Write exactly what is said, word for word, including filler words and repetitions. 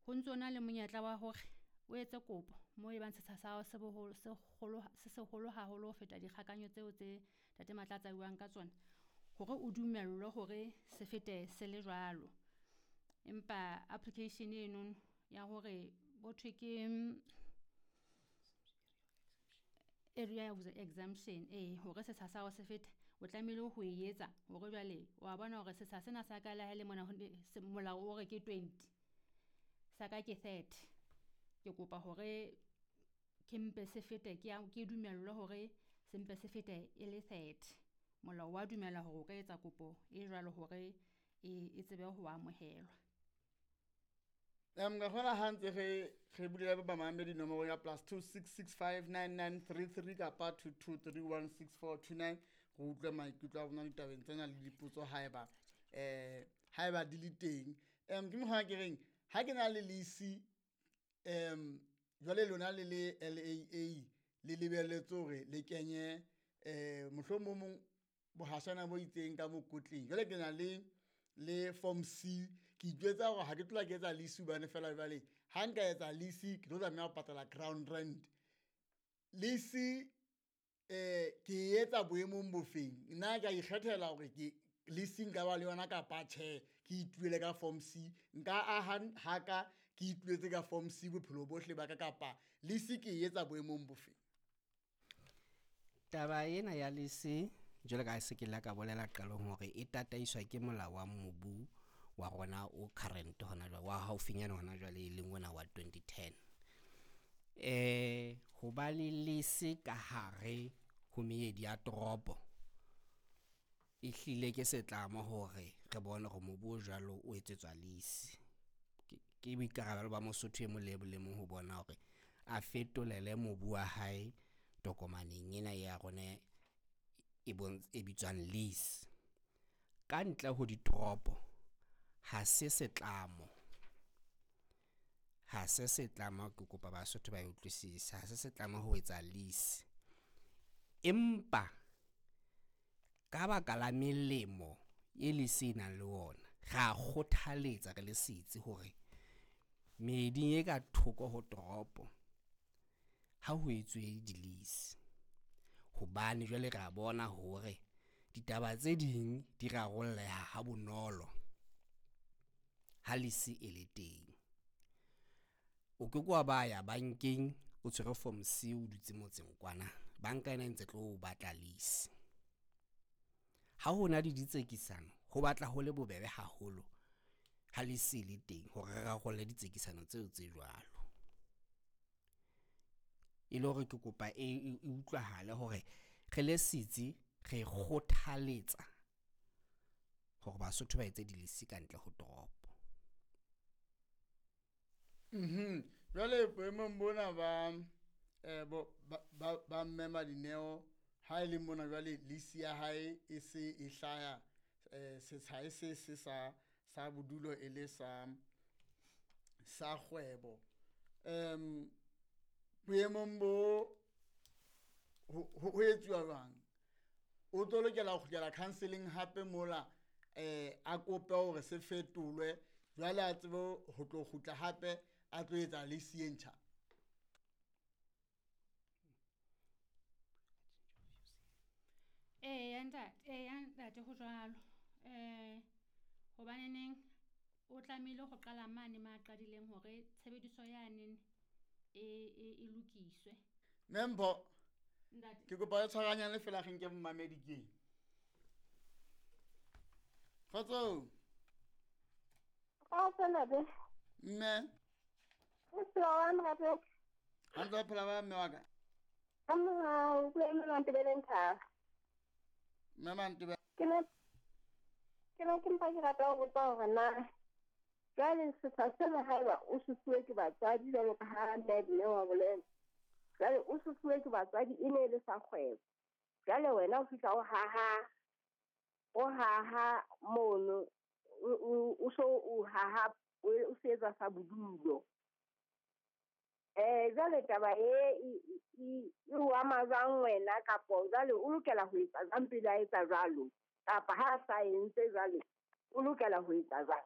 Ho ntso na le monyetla wa hore o etse kopo moo e bang setsha sa hao se boholo se kgolo se seholo haholo ho feta dikgakanyo tseo tse Ntate Mahlatse a buang ka tsona, hore o dumellwe hore se fete se le jwalo. Empa application eno ya hore bo thwe ke area exemption ee, hore setsha sa hao se fete o tlamehile ho e etsa hore jwale wa bona hore setsha sena sa ka le ha e le mona molao o re ke twenty, sa ka ke thirty. Ke kopa hore ke mpe se fete ke ke dumellwe hore se mpe se fete e le thirty. Molao wa dumela hore o ka etsa kopo e jwalo hore e, e tsebe ho amohelwa. Um ka kgona ha ntse re re bulela ba bamamedi nomoro ya plus two six six five nine nine three three kapa two two three one six four two nine re utlwe maikutlo a bona ditabeng tsena le dipotso haeba eh haeba di le teng. Um ke mokgwa ke reng ha ke na le lease um jwale lona le le L A A le lebelletse hore le kenye eh mohlomong mong bohashana bo itseng ka mokotleng. Jwale ke na le le form C ke itjwetsa hore ha ke tlola ke etsa lease hobane fela jwale ha nka etsa lease ke tlo tlameha ho patala ground rent. Lease eh ke e etsa boemong bofeng? Nna ke a ikgethela hore ke lease nka ba le yona kapa tjhe, ke ituele ka form C. Nka aha haka ke ituetse ka form C bophelo bohle ba ka kapa lease ke e etsa boemong bofeng? Taba ena ya lease jwalo ka ha se ke la ka bolela qalong hore e tataiswa ke molao wa mobu wa rona o current hona jwale, wa haufinyane hona jwale e leng ona wa twenty ten. Eh ho ba le lease ka hare ho meedi ya toropo e hlile ke setlamo hore re bone hore mobu o jwalo o etsetswa lease. Ke, ke boikarabelo ba Mosotho e mong le e mong ho bona hore a fetolele mobu wa hae tokomaneng ena ya rona e e bitswang lease. Ka ntle ho ditoropo ha se setlamo, ha se setlamo, ke kopa Basotho ba e utlwisise, ha se setlamo ho etsa lease. Empa ka baka la melemo e lease e nang le ona, ra kgothaletsa re le setsi hore meeding e ka thoko ho toropo ha ho etswe di-lease. Hobane jwale re a bona hore ditaba tse ding di rarolleha ha bonolo ha lease e le teng. O ke ke wa ba ya bankeng o tshwere form C o dutse motseng kwana, banka ena e ntse tlo batla lease. Ha ho na le ditsekisano ho batla ho le bobebe haholo ha lease e le teng hore re rarolle ditsekisano tseo tse jwalo. E le hore ke kopa e, e utlwahale hore re le setsi re kgothaletsa hore Basotho ba etse di-lease ka ntle ho toropo. Mhm. Jwale boemong bona ba eh bo ba, ba, ba mme Madineo ha e le mona jwale lease ya hae e se e hlaya eh setsha e se se sa sa bodulo e le sa sa kgwebo. Em boemong bo ho, ho etsuwa jwang? O tlo lokela ho kgutlela counseling hape mola eh a kope hore se fetolwe jwale a tsebe ho tlo kgutla hape a tlo etsa lease e ntjha. Eya ntate, eya ntate ho jwalo. Eh hobaneneng o tlamehile ho qala mane ma qadileng hore tshebediso yane e, e, e lokiswe. Mme Mpho, Ntate. ke kopa o tshwaranyane fela re nke momamedi ke. Kgotso. Kgotso ntate. Mme. O phela wa ntate? Ha ntse o phela ba mme wa ka? Ka morao, o bua mme Mantebele Nthaba. Mme Mantebele. Ke ne, ke ne ke mpa ke rata ho botsa hore na jwale setsha sena haeba o se fuwe ke batswadi jwalo ka ha mme wa bolela. Jwale o se fuwe ke batswadi e ne e le sa kgwebo. Jwale wena o fihla o haha, o haha mono, o, o, o so o haha, o, o se etsa sa bodulo. Eh, jwale taba e, e, e, e o ama jwang wena kapo jwale o lokela ho etsa jwang pele a etsa jwalo? Kapa ha a sa entse jwale, o lokela ho etsa jwang?